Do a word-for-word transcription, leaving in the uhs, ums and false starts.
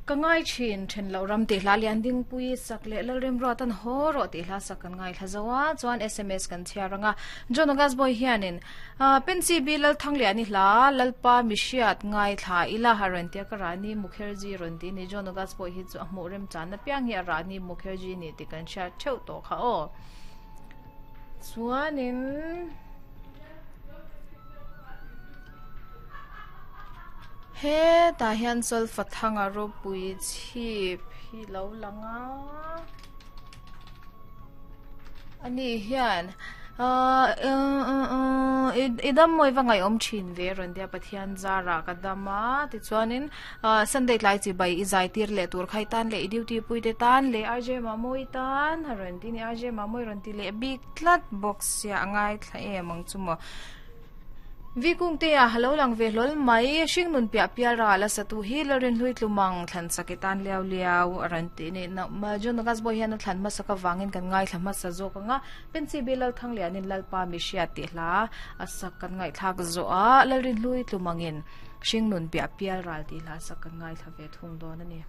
Ka ngai thin then lo ram ti hla lian ding pui sak le lalrem ro tan ho ro ti hla sak kan ngai thla zoa chuan S M S kan chhiaranga John August boy hianin pensi bi lal thang le ani hla lalpa mishiat ngai thla ila haran tia ka Rani Mukherjee ron ti ni. John August boy hi chu a hmu rem chan na piang hi a Rani Mukherjee ni ti kan hriat theuh tawh kha aw. Chuanin hetah hian solfa thanga ropui chhip hi lo langa ani hian i dam mawi va ngaih awm thin ve rawn tia. Pathian zara ka dama tichuanin Sunday tlai chi bai i zai tir leh tur khai tan leh i duty pui te tan leh R J Mamoi tan rawn ti ni. R J Mamoi rawn ti leh bik tlat box sia angai thla em ang chu maw. Vi kung te a halo lang ve hlol mai hring nun pia pial ra la satu hi lorin hlui tlumang thlan sakitan liau liau aran ti ni na ma jon gas boy hian thlan ma saka wangin kan ngai thla ma sa zo ka nga pensi bilal thang lianin lalpa mi hria ti hla asak kan ngai thak zo a lalrin hlui tlumangin hring nun pia pial ral ti hla sak kan ngai thla ve thung don ani.